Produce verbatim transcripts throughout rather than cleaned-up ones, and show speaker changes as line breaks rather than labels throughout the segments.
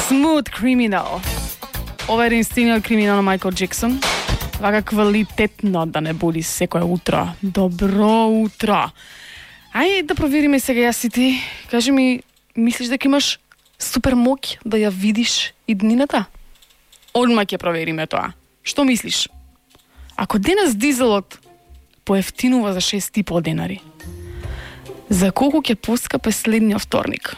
Smooth Criminal. Ова е единствениот криминал на Майкл Джексон. Вака квалитетно да не буди секое утро. Добро утро. Ајде да провериме сега јас и ти. Кажи ми, мислиш дека имаш супер моќ да ја видиш иднината? Одма ќе провериме тоа. Што мислиш? Ако денес дизелот поевтинува за шест и пол денари, за колку ќе поскапе следниот вторник?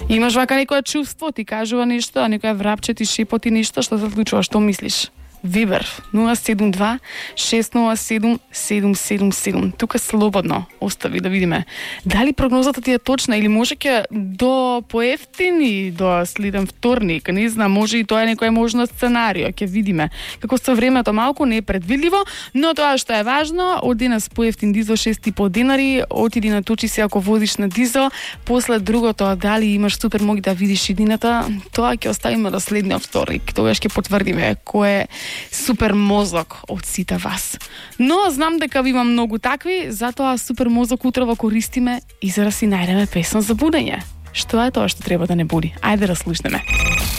Имаш вака некое чувство, ти кажува нешто, а некоја врапче ти шепоти нешто, што се случува, што мислиш? Вибер нула седум два шест нула седум седум седум седум. Тука слободно остави да видиме дали прогнозата ти е точна или може ќе до поевтини до следен вторник, не знам, може и тоа е некој можно сценарио, ќе видиме. Како со времето малку не е предвидливо, но тоа што е важно, од денес поевтин дизел шест и пол денари, отиди наточи се ако возиш на дизел, после другото дали имаш супер моќ да видиш иднината, тоа ќе оставиме до следниот вторник. Тогаш ќе потврдиме кој е супер мозок од сите вас. Но знам дека ви има многу такви, затоа супер мозок утре во користиме и за да си најдеме песна за будење. Што е тоа што треба да не буди? Ајде да слушнеме.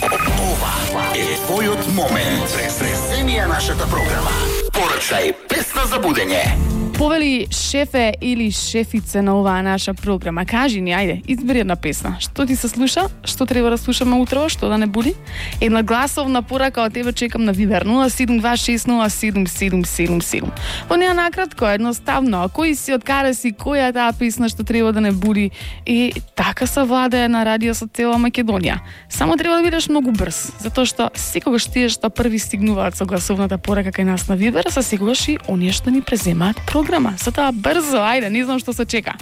Ова е твојот момент. Преземија нашата програма. Порачај песна за будење.
Повели шефе или шефице на оваа наша програма, кажи ни, ајде, избери една песна. Што ти се слуша? Што треба да слушаме утро? Што да не буди? Една гласовна порака од тебе чекам на Вибер нула седум два шест нула седум седум седум седум. Во неа накратко, едноставно, кој си, откаде си, која е таа песна што треба да не буди? И така се владее на радио со цела Македонија. Само треба да бидеш многу брз, затоа што секогаш тие што први стигнуваат со гласовната порака кај нас на Вибер, се секогаш и оние што ни преземаат програма. Затоа брзо, ајде, не знам што се чека.